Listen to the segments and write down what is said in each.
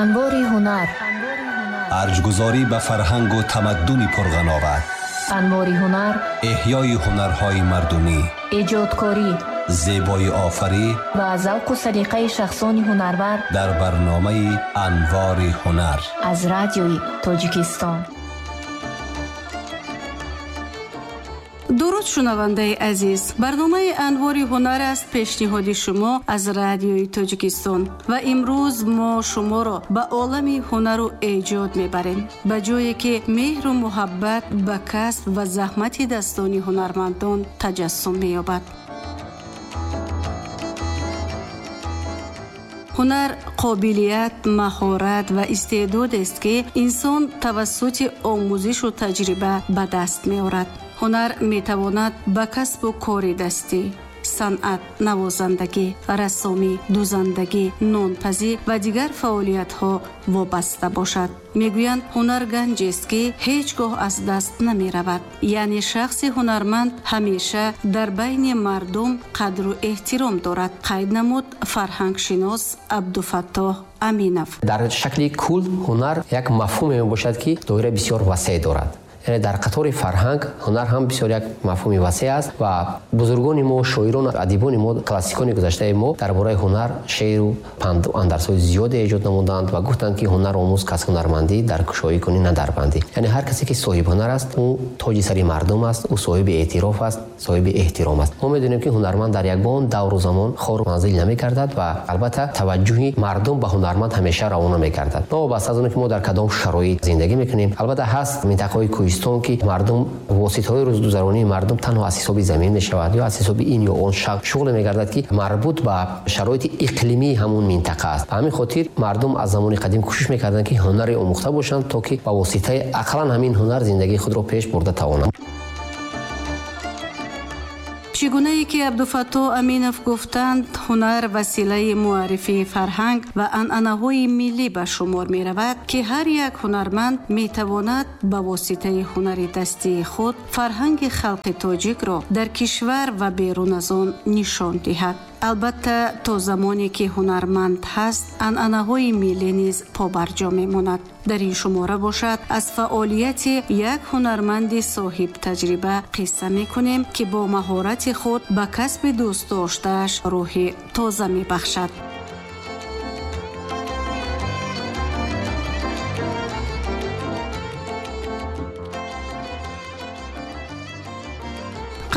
Анвори ҳунар. Арҷгузорӣ ба фарҳангу тамаддуни пурғановат. Анвори ҳунар. Эҳёи ҳунарҳои мардумӣ. Эҷодкорӣ. Зебои офарӣ ва завқу салиқаи шахсони ҳунарвар дар барномаи Анвори ҳунар аз радиои Тоҷикистон. Дуруд, шунавандаи азиз. Барномаи Анвори ҳунар аст, пешниҳоди шумо аз радиои Тоҷикистон. Ва имрӯз мо шуморо ба олами ҳунару эҷод мебарем, ба ҷое ки меҳру муҳаббат ба касб ва заҳмати дастони ҳунармандон таҷассум меёбад. Ҳунар қобилият, маҳорат ва истеъдодест, ки инсон тавассути омӯзишу таҷриба ба даст меорад. Ҳунар метавонад ба касбу кори дастӣ, санъат, навозандагӣ, рассомӣ, дузандагӣ, нонпазӣ ва дигар фаъолиятҳо вобаста бошад. Мегӯянд, ҳунар ганҷест, ки ҳеҷ гоҳ аз даст намеравад. Яъне шахси ҳунарманд ҳамеша дар байни мардум қадру эҳтиром дорад, қайд намуд фарҳангшинос Абдуфаттоҳ Аминов. Дар шакли кул ҳунар як мафҳуме мебошад, ки доираи бисёр васеъ дорад. Яъне дар қатори фарҳанг ҳунар ҳам бисёр як мафҳуми васеъ аст ва бузургони мо, шоирон, адибони мо, классикони гузаштаи мо дар бораи ҳунар шеъру панду андарсҳои зиёде эҷод намуданд ва гуфтанд, ки ҳунар омӯз кас ҳунармандӣ, дар кушоӣ кунӣ на дар бандӣ. Яъне ҳар касе ки соҳиби ҳунар аст, ӯ тоҷи сари мардум аст, ӯ соҳиби эътироф аст, соҳиби эҳтиром аст. Мо медонем, ки ҳунарманд дар ягон давру замон хору манзил намегардад ва албатта таваҷҷӯҳи мардум ба ҳунарманд ҳамеша равона мегардад. Новобаста аз он ки мо дар кадом шароит зиндагӣ мекунем, албатта ҳаст минтақаҳои кӯҳистон, ки мардум воситаҳои рӯзгузаронии мардум танҳо аз ҳисоби замин мешавад ё аз ҳисоби ин ё он шуғле мегардад, ки марбут ба шароити иқлимии ҳамун минтақа аст. Ба ҳамин хотир мардум аз замони қадим кӯшиш мекарданд, ки ҳунаре омӯхта бошанд, то ки ба воситаи ақаллан ҳамин ҳунар зиндагии худро пеш бурда тавонанд. Чӣ гунае ки Абдуфаттоҳ Аминов гуфтанд, ҳунар василаи муаррифии фарҳанг ва анъанаҳои миллӣ ба шумор меравад, ки ҳар як ҳунарманд метавонад ба воситаи ҳунари дастии худ фарҳанги халқи тоҷикро дар кишвар ва берун аз он нишон диҳад. Албатта, то замоне ки ҳунарманд ҳаст, анъанаҳои миллӣ низ побарҷо мемонад. Дар ин шумора бошад, аз фаъолияти як ҳунарманди соҳибтаҷриба қисса мекунем, ки бо маҳорати худ ба касби дӯстдоштааш рӯҳи тоза мебахшад.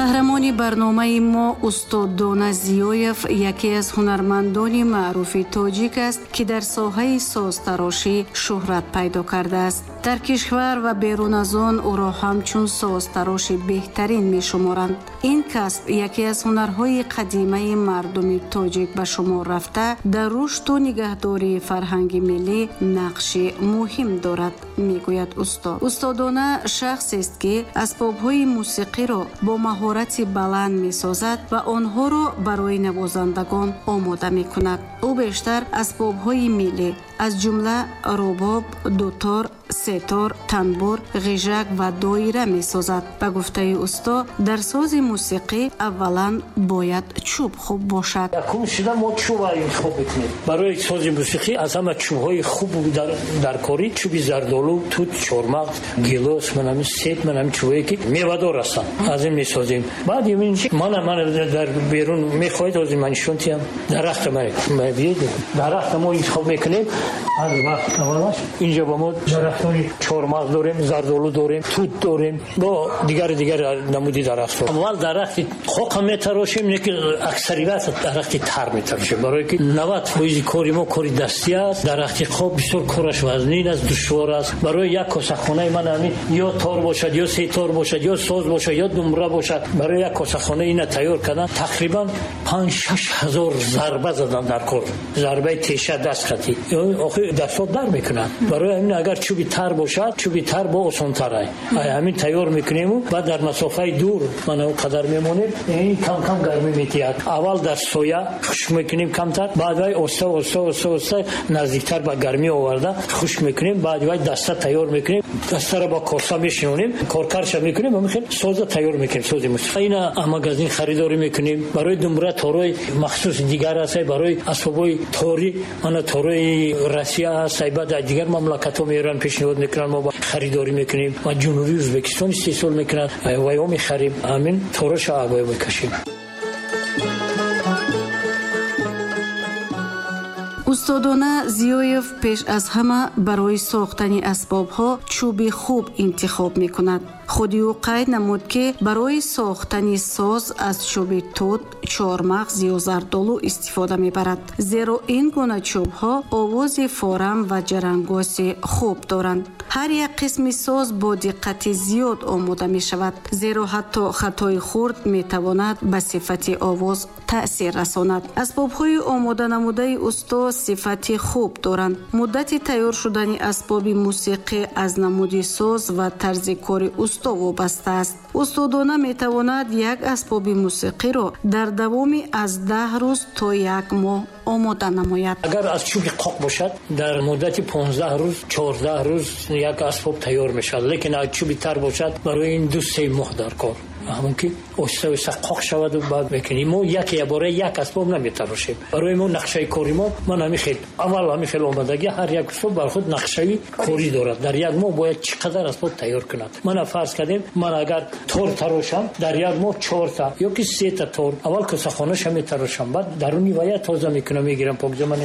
Қаҳрамони барномаи мо устод Дона Зиёев яке аз ҳунармандони маъруфи тоҷик аст, ки дар соҳаи созтарошӣ шӯҳрат пайдо кардааст. Дар кишвар ва берун аз он ӯро ҳамчун созтароши беҳтарин мешуморанд. Ин касб яке аз ҳунарҳои қадимаи мардуми тоҷик ба шумор рафта, дар рушду нигаҳдории фарҳанги миллӣ нақши муҳим дорад, мегӯяд устод. Устодона шахсест, ки асбобҳои мусиқиро бо маҳорати баланд месозад ва онҳоро барои навозандагон омода мекунад. Ӯ бештар асбобҳои миллӣ, аз ҷумла рубоб, дутор, сетор, танбур, ғижак ва доира месозад. Ба гуфтаи усто, дар сози мусиқӣ аввалан бояд чӯб хуб бошад. Якум шуда мо чӯба интихоб мекунем. Барои сози мусиқӣ аз ҳама чӯбҳои хуб дар корӣ чӯби зардолу, тут, чормағз, гилос, манами себ, манами чӯбҳое ки мевадор ҳастанд, аз ин месозем. Баъд ин мана дар берун мехоҳед, ҳозир ман нишон диҳам. Дарахта дарахта мо интихоб мекунем. Аз вақт аввалаш инҷо ба мо дарахтони чормағз дорем, зардолу дорем, тут дорем, бо дигар намуди дарахтҳо. Аввал дарахти хока метарошем, не ки аксарият дарахти тар метарошем, барое ки 90% кори мо кори дастӣ аст. Дарахти хок бисёр кораш вазнин аст, душвор аст. Барои як косахонаи ман ҳамин ё тор бошад, ё сетор бошад, ё соз бошад, ё думра бошад, барои як косахона ина тайёр кардан тақрибан 5-6 ҳазор зарба задан дар кор, зарбаи теша даст хатӣ охир дастҳо дар мекунанд. Барои ҳамин агар чӯби тар бошад, чӯби тар бо осонтар ай. Ҳамин тайёр мекунему, баъд дар масофаи дур мана он қадар мемонем, ин кам кам гармӣ метиҳад. Аввал дар соя хушк мекунем камтар, баъд вай оста оста оста оста наздиктар ба гармӣ оварда хушк мекунем, баъд вай даста тайёр мекунем. Дастара бо коса мешинонем, коркарша мекунем, ҳамин хел соза тайёр мекунем, сози мусиқӣ. Ина магазин харидорӣ мекунем. Барои думбура торҳои махсус дигар аст, барои асбобҳои торӣ, мана торҳои Россия аст, баъд аз дигар мамлакатҳо меоранд, пешниҳод мекунанд, мо харидорӣ мекунем. Ва Ҷумҳурии Ӯзбекистон истеҳсол мекунанд, ваё мехарем, ҳамин торҳоша ваё мекашем. Устодона Зиёев пеш аз ҳама барои сохтани асбобҳо чӯби хуб интихоб мекунад. Худи ӯ қайд намуд, ки барои сохтани соз аз чӯби тут, чормағз ё зардолу истифода мебарад, зеро ин гуна чӯбҳо овози форам ва ҷарангоси хуб доранд. Ҳар як қисми соз бо диққати зиёд омода мешавад, зеро ҳатто хатои хурд метавонад ба сифати овоз таъсир расонад. Асбобҳои омоданамудаи усто сифати хуб доранд. Муддати тайёр шудани асбоби мусиқӣ аз намуди соз ва тарзи кори усто вобаста аст. Устодона метавонад як асбоби мусиқиро дар давоми аз 10 рӯз то як моҳ омода намояд. Агар аз чӯби қоқ бошад, дар муддати 15 рӯз, 14 рӯз як асбоб тайёр мешавад. Лекин аз чӯби тар бошад, барои ин 2-3 моҳ дар кор. Ҳамон ки оҳиста оҳиста қоқ шавад ва баъд мекунем. Мо яке бора як асбоб наметарошем. Барои мо нақшаи кори мо ман ҳамин хел аввал ҳамин хел омадагӣ, ҳар як усто бар худ нақшаи корӣ дорад. Дар як моҳ бояд чӣ қадар асбоб тайёр кунад. Ман фарз кардем, ман агар тор тарошам, дар як моҳ 4 ё ки 3 тор аввал косахонаша метарошам, баъд даруни вая тоза мекунам, мегирам, покзаман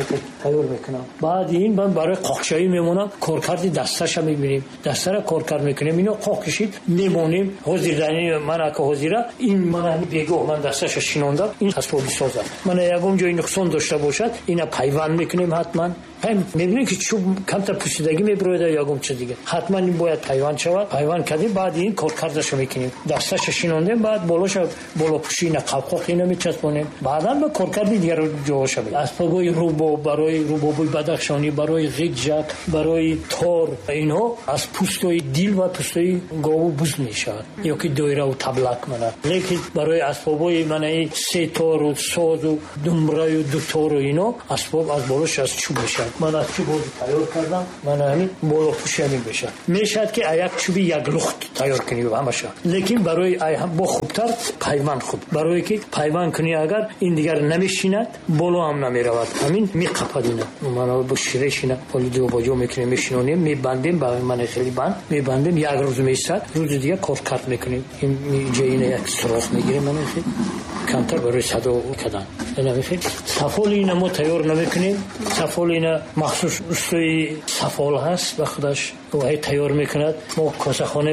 тайёр мекунам. Баъд ин ман барои қоқшавӣ мемонам, коркарди дасташа мебинем, дастара коркард мекунем, ино қоқ кашид мемонем. Ҳозир дар ман ҳозира ин ман бегоҳ ман дасташа шинондам, ин асбоби созам. Ман ягон ҷои нуқсон дошта бошад, ина пайванд мекунем ҳатман. Мебинем ки чӯб камтар пӯсидагӣ мебирояд ё ягон чиз дигар, ҳатман ин бояд пайванд шавад. Пайванд кардем, баъд ин коркардаша мекунем, дасташа шинондем, баъд болоша болопӯши ина қавқоқ ина мечаспонем, баъдан ба коркарди дигар ҷоҳоша. Асбобҳои рубоб, барои рубобҳои бадахшонӣ, барои ғиҷак, барои тор, инҳо аз пӯстои дил ва пӯстои гову буз мешавад ё ки доираву таблак мана. Лекин барои асбобҳои манаи сетору созу думбраю дутору ино асбоб аз болош аз чӯб мешавад. Ман аз чӯб ҳозир тайёр кардам, ман ҳамин болопӯши ҳамин мешавад. Мешавад ки як чӯби як лухт тайёр кунӣ ҳамаша, лекин барои бо хубтар пайванд хуб, барое ки пайванд кунӣ агар ин дигар намешинад, боло ҳам намеравад, ҳамин меқапад ина. Ман бо ширешина ҳоли ҷобаҷо мекунем, мешинонем, мебандем ба ман хеле банд мебандем, як рӯз меистад, рӯзи дигар коркард мекунем. Ин ҷоина як сурох мегирем, ман хеле камтар барои садо кардан. Сафоли ина мо тайёр намекунем. Сафоли ина махсус устои сафол ҳаст, ба худаш вай тайёр мекунад. Мо косахона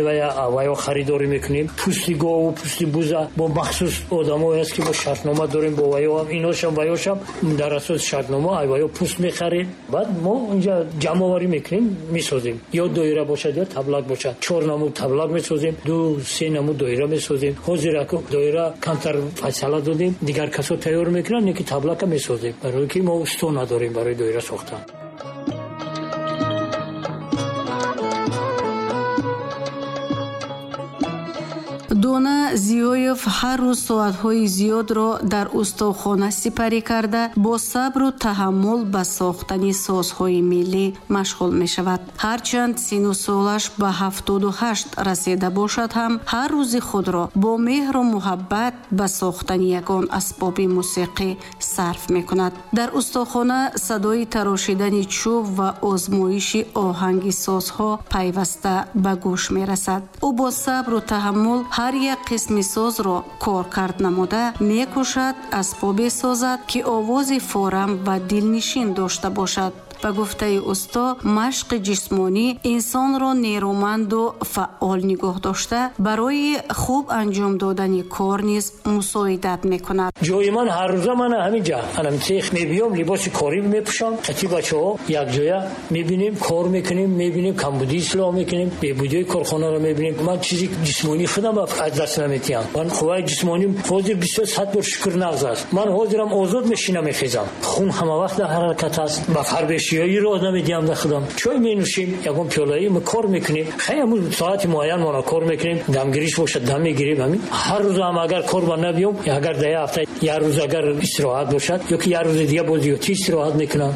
ваё харидорӣ мекунем. Пӯсти гову пӯсти буза бо махсус одамое ҳаст ки мо шартнома дорем бо ваё, иношам ваёшам дар асоси шартнома ваё пӯст мехарем. Баъд мо инҷа ҷамъоварӣ мекунем, месозем. Ё доира бошад, ё таблак бошад. 4 намуд таблак месозем, 2-3 намуд доира месозем. Ҳозир аку доира камтар фасала додем, дигар касо тайёр мекунанд, не ки таблака месозем, барои ки мо усто надорем барои доира сохтан. Дона Зиёев ҳар рӯз соатҳои зиёдро дар устохона сипарӣ карда, бо сабру таҳаммул ба сохтани созҳои миллӣ машғул мешавад. Ҳарчанд сину солаш ба 78 расида бошад ҳам, ҳар рӯзи худро бо меҳру муҳаббат ба сохтани ягон асбоби мусиқӣ сарф мекунад. Дар устохона садои тарошидани чӯб ва озмоиши оҳанги созҳо пайваста ба гӯш мерасад. Ӯ бо сабру таҳаммул ҳар як қисми созро коркард намуда мекӯшад асбобе созад, ки овози форам ва дилнишин дошта бошад. Ба гуфтаи усто, машқи ҷисмонӣ инсонро нерӯманду фаъол нигоҳ дошта, барои хуб анҷом додани кор низ мусоидат мекунад. Ҷои ман ҳар рӯза ман ҳамин ҷа анам цех мебиём, либоси корӣ мепӯшам, қати бачаҳо якҷоя мебинем, кор мекунем, мебинем камбудӣ ислоҳ мекунем, бебудиҳои корхонаро мебинем. Ман чизи ҷисмонии худам аз даст наметиҳам. Ман қувваи ҷисмоним ҳозир 100 бор шукр нағз аст. Ман ҳозирам озод мешинам, мехезам. Хун ҳама вақт дар ҳаракат аст. Ба фарбешиёи роҳ намедиҳам дар худам. Чой менӯшем, ягон пиёлаи мо кор мекунем. Хай ҳамун соати муайян мона кор мекунем, дамгириш бошад дам мегирем. Ҳамин ҳар рӯз ҳам агар кор ба набиём, агар дар як ҳафта як рӯз агар истироҳат бошад ё ки як рӯзи дига боз зиёдтӣ истироҳат мекунам.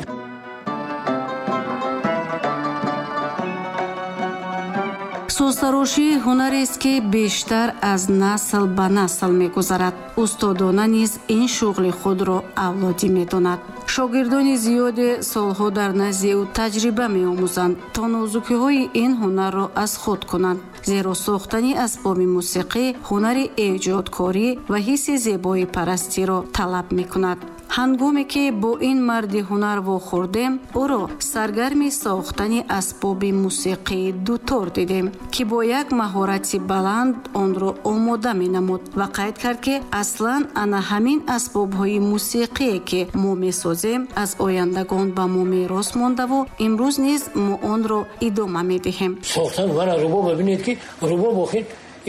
Созтарошӣ ҳунарест, ки бештар аз насл ба насл мегузарад. Устодона низ ин шуғли худро авлодӣ медонад. Шогирдони зиёде солҳо дар назди ӯ таҷриба меомӯзанд, то нозукиҳои ин ҳунарро аз худ кунанд. Зеро сохтани асбоби мусиқӣ ҳунари эҷодкорӣ ва ҳисси зебоипарастиро талаб мекунад. Ҳангоме ки бо ин марди ҳунар вохӯрдем, ӯро саргарми сохтани асбоби мусиқии дутор дидем, ки бо як маҳорати баланд онро омода менамуд ва қайд кард, ки аслан ана ҳамин асбобҳои мусиқие, ки мо месозем, аз ояндагон ба мо мерос мондаву имрӯз низ мо онро идома медиҳем. Сохтан вара рубоб, бибинед, ки рубоб охир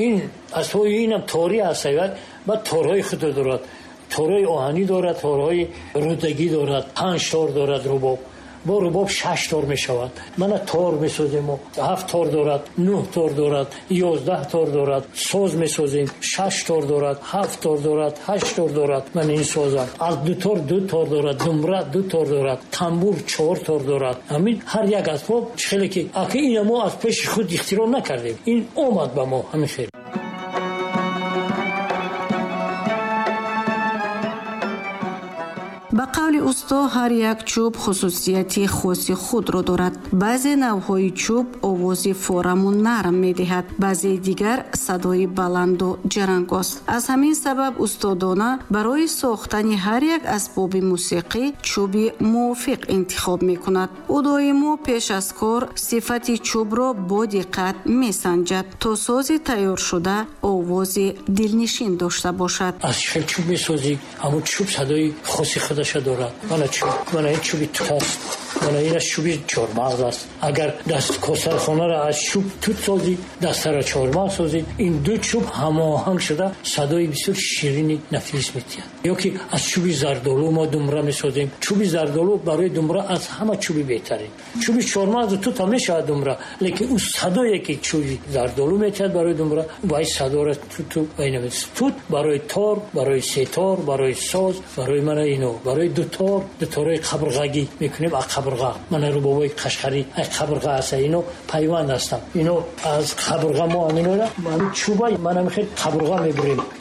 ин асбоби инам торӣ аст, баъд торҳои худро дорад, торҳои оҳанӣ дорад, торҳои рудагӣ дорад, 5 тор дорад рубоб. Бо рубоб 6 тор мешавад. Мана тор месозем, 7 тор дорад, 9 тор дорад, 11 тор дорад. Соз месозем, 6 тор дорад, 7 тор дорад, 8 тор дорад. Мана ин созам аз 2 тор 2 тор дорад, думра 2 тор дорад, тамбур 4 тор дорад. Ҳамин ҳар як асбоб хеле ки аки ина мо аз пеши худ ихтироъ накардем, ин омад ба мо ҳамин хел. Ба қавли усто, ҳар як чӯб хусусияти хоси худро дорад. Баъзе навъҳои чӯб овози фораму нарм медиҳад, баъзеи дигар садои баланду ҷарангоз. Аз ҳамин сабаб устодона барои сохтани ҳар як асбоби мусиқӣ чӯби мувофиқ интихоб мекунад. Ӯ доимо пеш аз кор сифати чӯбро бо диққат месанҷад, то сози тайёршуда овози дилнишин дошта бошад. Аз чӣ чӯб месозӣ, ҳамон чӯб садои хоси худаш дорад. Мана чӯб, мана ин чӯби тут аст, мана ин аз чӯби чормағз аст. Агар даст косархонаро аз чӯб тут созӣ, дастаро чормағз созӣ, ин ду чӯб ҳамоҳанг шуда садои бисёр ширини нафис медиҳад. Ё ки аз чӯби зардолу мо думра месозем. Чӯби зардолу барои думра аз ҳама чӯби беҳтарин. Чӯби чормағзу тут ҳам мешавад думра, лекин ӯ садое ки чӯби зардолу метиҳад барои думра, вай садоро туту вай намедиҳад. Тут барои тор, барои сетор, барои соз, барои мана ино, барои дутор, дуторҳои қабрғагӣ мекунем аз қабрға. Мана рубобҳои қашқарӣ аз қабрға аст, ино пайванд ҳастанд. Ино аз қабрға мо ҳаминора, ҳамин чӯба мана мехел қабрға мебурем.